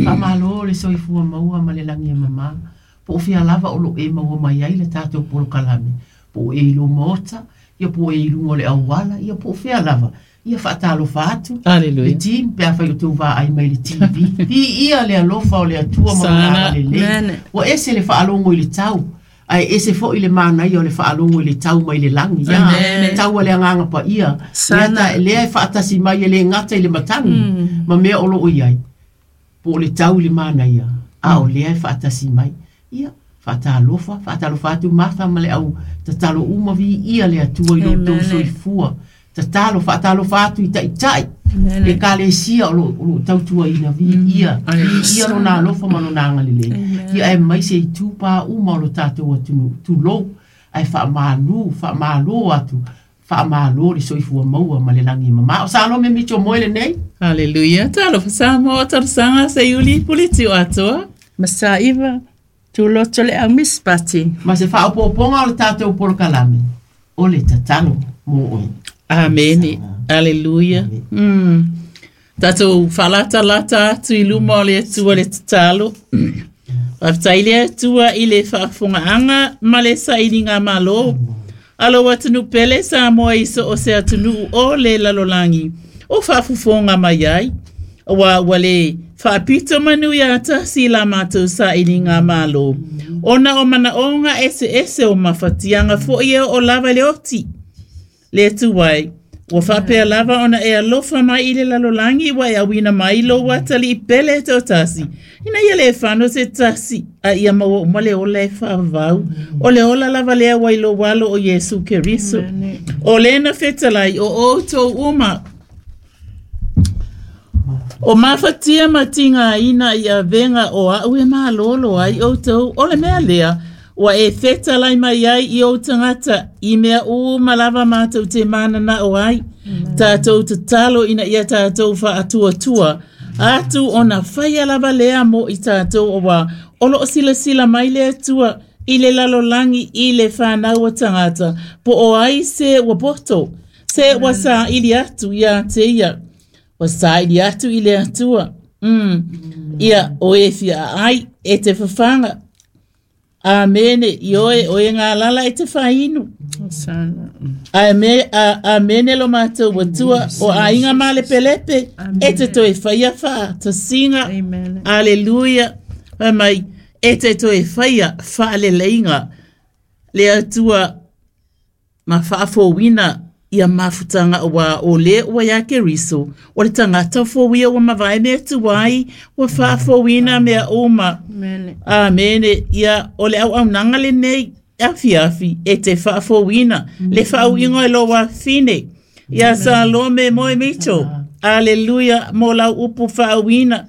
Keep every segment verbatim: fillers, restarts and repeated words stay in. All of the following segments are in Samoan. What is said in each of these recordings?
Faamalo le soifua maua ma le lagi e mama. Po o fea lava o loo e maua mai ai le tatou polokalame. Po o e i lou maota, ia po o e i luga o le auala, ia po o fea lava. Ia faatalofa atu. Aleluia. Le team pe afai o outou vaai mai i le T V. Viia le alofa o le Atua ma lona agalelei. Ua ese le faalogo i le tau. Ae ese foi le manaia o le faalogo i le tau mai le lagi. Ia, tau a le agaga paia. Lea, lea e faatasi mai e le gata i le matagi. Ma mea o loo i ai. Po o le tau i le manaia. A o lea e faatasi mai. Ia, faatalofa, faatalofa atu Martha ma le au tatalo uma viia le Atua i lo outou soifua. Tatalo, faatalofa atu i taitai. Le kalesia o lo, o lo tautuaina viia. Viia lona alofa ma lona agalelei. Ia aemaise i tupā uma o lo tatou atunuu. Tulou, ae faamalu, faamalo atu. Faamalo le soifua maua ma le lagi e mama. O Salome Mitchell moe lenei. Hallelujah. Talofa Samoa, talosaga Seiuli, puliti o atoa. Masaiva, tuloto le au mispati. Ma se faaopoopoga o le tatou polokalame, o le tatalo mo oe. Amene. Aleluia. Mm. Tatou faalatalata atu i luma o le Atua le tatalo. Faafetai le Atua i le faafofogaaga ma le sailiga malo. Alo atunuu pele Samoa i so o se atunuu o le lalolagi o faafofoga mai ai. Aua ua le faapito manu ia tasi la matou sailiga malo. Ona o manaoga eseese o mafatiaga foi e oo lava i le oti. Le Atua e, ua faapea lava ona e alofa mai i le lalolagi ua e auina mai lou atalii pele e toatasi. Ina ia le fano se tasi, a ia maua uma le ola e faavavau. O le ola lava lea ua i lou alo o Iesu Keriso. O lena fetalai o outou uma. O mafatia ma tigaina i avega o au e malolo ai outou. O le mea lea, ua e fetalai mai ai i ou tagata i mea uma lava matou te mananao ai. Tatou tatalo ina ia tatou faatuatua. Atu ona faia lava lea mo i tatou aua o loo silasila mai le Atua i le lalolagi i le fanau o tagata. Po o ai se ua poto, se ua saili atu ia te ia. Ua saili atu i le Atua. Mm. Ia o e fia ai e te fafaga. Amene, i oe, oe ngā lala e te whainu. Amene lo mātou atua, o aiga ma le pelepe, e te toe whaia wha, tasinga. Aleluia. Whai mai, e te toe whaia whaaleleinga. Le Atua, ma whaafowina ia mafutanga wa o le ua ia Keriso, o le tangata fowia ua mavae mea tuai, ua faafowina mea uma. Amene. Ia o le auaunaga lenei afiafi e te faafowina, le faauiga e lou afine. Ia Salome moe Mitchell. Aleluia, mo lau upu faauina.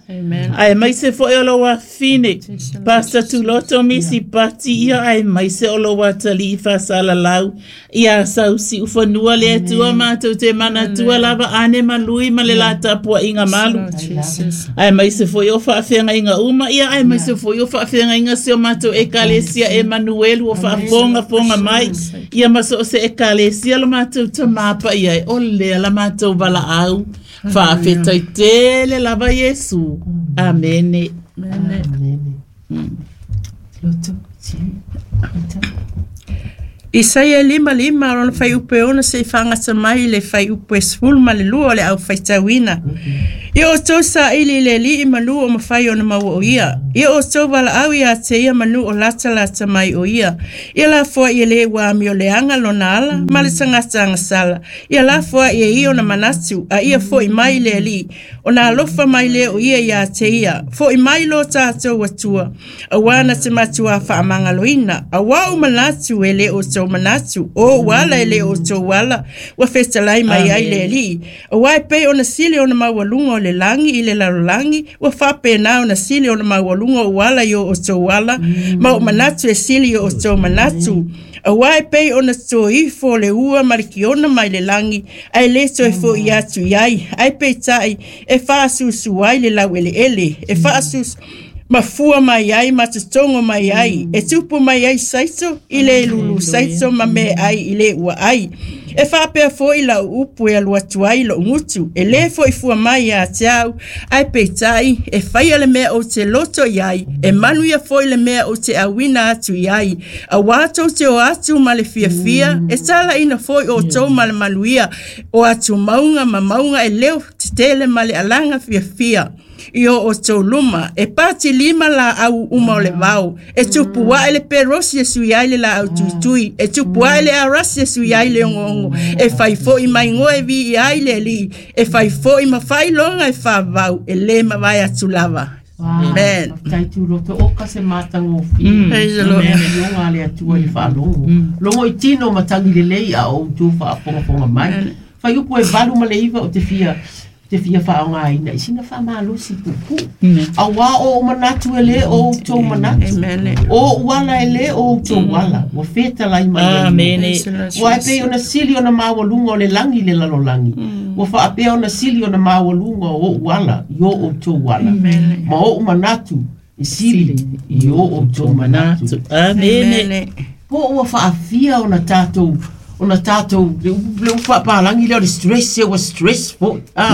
Aemaise foi o lou afine. Pastor Tuloto Misi Pati ia aemaise o lou atalii faasalalau. Ia sausi ufanua le Atua matou te manatua lava ane malui ma le la tapuaiga malu. Aemaise foi o faafeagaiga uma ia aemaise foi o faafeagaiga si o matou ekalesia Emanuelu o faafogafoga mai. Ia ma so o se ekalesia lo matou tamapa ia e o lea la matou valaau. Faafetai tele lava Iesu. Amene. Amene. Loto, si, Isaia lima lima lona faiupu e ono seʻi faagata mai le faiupu e sefulu ma le lua o le aufaitauina. Ia outou saili i le Alii manu o mafai ona maua o ia. Ia outou valaau ia te ia manu o latalata mai o ia. Ia lafoai e lē ua amioleaga lona ala ma le tagata agasala. Ia lafoai e ia ona manatu a ia foʻi mai le Alii. Ona alofa mai lea o ia iā te ia. Foʻi mai lo tatou Atua. Auā na te matuā faamagaloina. Auā ou manatu e lē outou manatu. O ou ala e lē outou ala. Ua fetalai mai ai le Alii. Auā e pei ona sili ona maualuga o le lagi i le lalolagi. Ua faapena ona sili ona maualuga o ou ala i o outou ala. Ma ou manatu e sili i o outou manatu. Auā e pei ona toifo le ua ma le kiona mai le lagi. Ae lē toe foʻi atu i ai. Ae peitai e faasusu ai le laueleele. E faasusu mafua mai ai ma totogo mai ai. E tupu mai ai saito i le lulu saito ma meaai i le ua ai. E faapea foʻi lau upu e alu atu ai loʻu gutu e lē foʻi fua mai iā te au ae peitai e faia le mea ou te loto i ai e manuia foʻi le mea ou te auina atu i ai auā tou te o atu ma le fiafia e talaʻina foʻi outou ma le manuia o atu mauga ma mauga e leo tetele ma le alaga fiafia i o outou luma e patilima laau uma o le vao e tupu ae le perosi e sui ai le laau tuitui e tupu ae le arasi e sui ai le ogoogo e fai foʻi maigoa e viia ai le alii e fai foʻi ma faailoga e favau e lē mavae atu lava. Amen. Tai tu loto o ka se matagofie. Praise the Lord. Ioga le Atua i le faalogo. Logo i tino matagi lelei a ou tou faafogafoga mai. Fai upu e valu ma le iva o te fia te fia faaaogāina i sina faamalosi puupuu. Auā o ou manatu e lē o outou manatu. Amen. O ou ala e lē o outou ala. Ua fetalai mai ai. Amene. Ua e pei ona sili ona maualuga o le lagi le lalolagi. Ua faapea ona sili ona maualuga o ou ala i o outou ala. Ma ou manatu e sili i o outou manatu. Amene. Po ua faafia ona tatou ona tatou le le upu faapalagi lea o le stress e ua stress foʻi a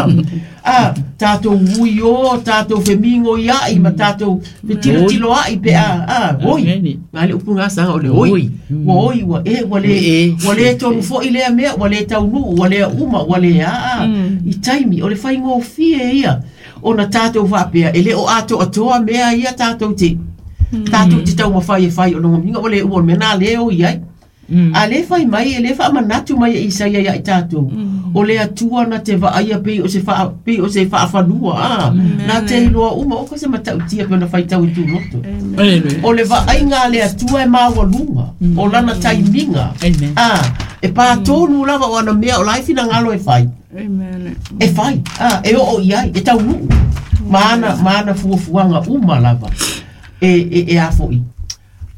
a tatou ui o tatou femigo iaʻi ma tatou fetilotilo aʻi pe a a oi Amene. ga le upu gasaga o le oi Oi. ua oi ua e ua le E. ua le tonu foʻi lea mea ua le taunuu ua le uma ua le aa i taimi o le faigofie ia ona tatou faapea e lē o atoatoa mea ia tatou te tatou te taumafai e fai o logomiga ua le ua o le mea na lē o i ai a lē fai mai e lē faamanatu mai e Isaia ia i tatou o le Atua na te vaaia pei o se faa pei o se faafanua a na te iloa uma o ka se matautia pe ona faitau i tuloto Amen. o le vaaiga a le Atua e maualuga o lana taimiga Amen. a e patonu lava o ana mea o la e finagalo e fai Amen. e fai a e oo i ai e taunuu ma ana ma ana fuafuaga uma lava e e e a foʻi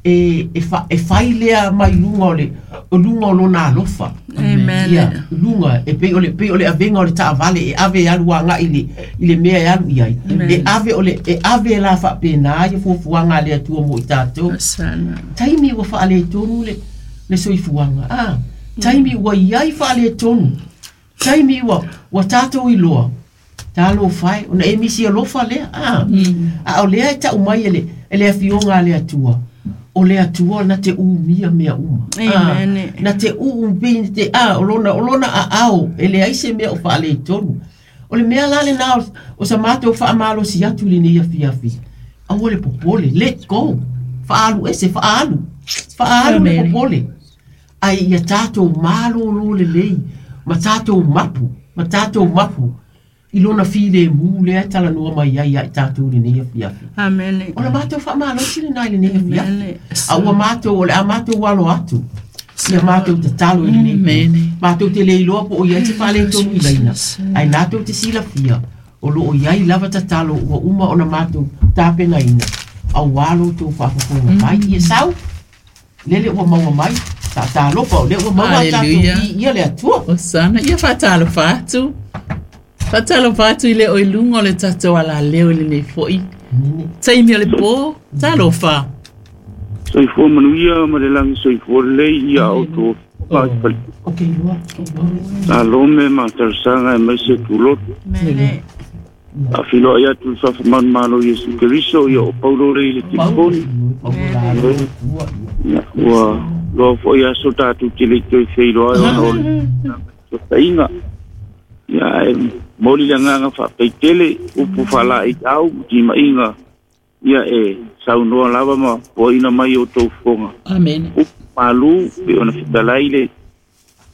e e fa e fai lea mai luga o le o luga o lona alofa Amen. ia luga e pei o le pei o le avega o le taavale e ave e alu agaʻi i le i le mea e alu i ai e ave o le e ave la faapenā ia fuafuaga a le Atua mo i tatou Sana. taimi ua faaletonu le le soifuaga a taimi ua iai faaletonu taimi ua ua tatou iloa talofa e ona e misi alofa lea a a o lea e taʻu mai e le e le afioga a le Atua o le Atua na te umia mea uma Amen. na te uu pei te a o lona o lona aao e leai se mea o faaletonu o le mea la lenā o, o sa matou faamalosi atu i lenei afiafi aua le popole let go faaalu ese faaalu faaalu le Amen. popole ai ia tatou malōlō lelei ma tatou mapu ma tatou mapu i lona filemu lea e talanoa mai ai ia i tatou lenei afiafi Amen. o le matou faamalosi lenā i lenei afiafi Amen. a ua matou o le a matou alo atu ia matou tatalo i lenei Amen. matou te le iloa po o iai se faaletonu i laina ae natou te silafia o loo iai lava tatalo ua uma ona matou tapenaina auā loutou faafofoga mai ia sau lele ua maua mai taatalofa o lea ua maua a tatou Hallelujah. viia le Atua Osana ia faatalofa atu. Faatalofa atu i le o i luga o le tatou alaleo i lenei foʻi. Taimi o le pō, talofa. Soifua manuia ma le lagi soifua lelei ia outou o ke iloa Salome ma talosaga e mai se tuloto Amen. Afiloai atu le faafamanomalo Iesu Keriso ia o Paulo lei le telefoni Ia, ua loa foʻi aso tatou te lei toe feiloa ai ona o le sotaiga ia ae moli le agaga faapeitele upu faalaʻiau ma timaiga ia e saunoa lava ma poaina mai outou fofoga Amen. upu malū pe ona fetalai le